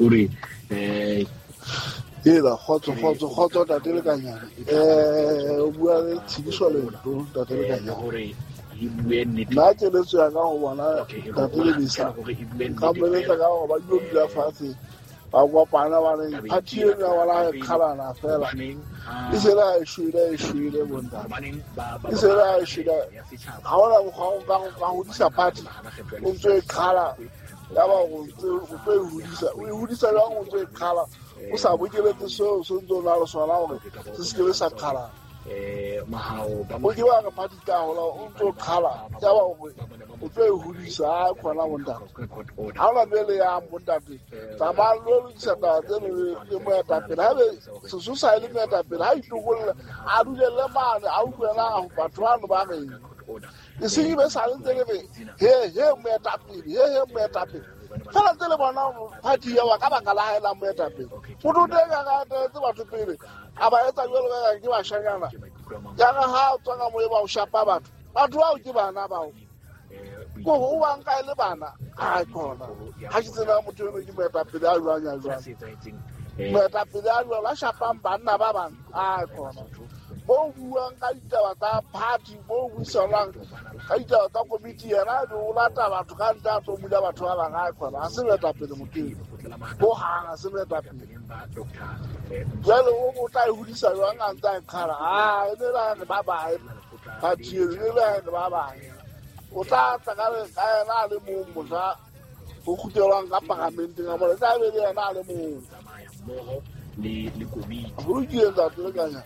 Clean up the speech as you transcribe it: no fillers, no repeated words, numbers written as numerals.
O re eh Ela kgotso kgotso kgotso tate Lekanyane. O bua le Tshidiso Lento tate Lekanyane. Hore e bue nnete. Nna keletso ya ka ho bona tate Lebesa. Nka mo eletsa ka hore ba dilo dula fatshe ba kopana ba re party eno ya bona e qhalana fela. E se le ha e shwele e shwele bontate. E se le ha e shwele. Ha hona mokgwa o ka hodisa party o ntso e qhala ya ba o ntso e hodisa. O e hodisa jwang o ntso e qhala? O sa bokeletse seo se ntse o na le sona hore se se kebe sa qhalana. O ke wa re party tla hola o ntso qhala ya ba hore o tlo e hodisa ha khona bontate. Ha ona bele ya bontate. Tsamaya lo lokisa taba tseno le moetapele. Haebe sesosa e le moetapele ha itokolle a dulelle mane a utlwe na batho bano ba reng. E seng e be sale ntse le re he he moetapele he he moetapele. Fela ntse le bona party ya wa ka baka la hae la moetapele. Motho o teng a ka etetse batho pele a ba etsa jwalo ka ke bashanyana. Ya re ha o tswa ka moo ba o shapa batho. Batho bao ke bana bao. Ko o ba nka e le bana. Ai khona. Ha ke tsena motho eno ke moetapele a jwang ya jwang. Moetapele a jwang a shapang banna ba bang. Ai khona. Bo buang ka ditaba tsa party, bo buisanang ka ditaba tsa komiti yena o lata batho ka ntle a tlo mula batho ba bang. Ai khona. Ha se moetapele motho eno. Ho hang ha se moetapele. Jwale o tla e hodisa jwang a ntse a e qhala? Ah, e ne la re ba bae. Party eno e ne la re ba bae. O tla tla ka yena a le mong mohla ho kgutlelwang ka paramenteng a mona. E tla be le yena a le mong. Le komiti. Ho lokile ntate Lekanyane.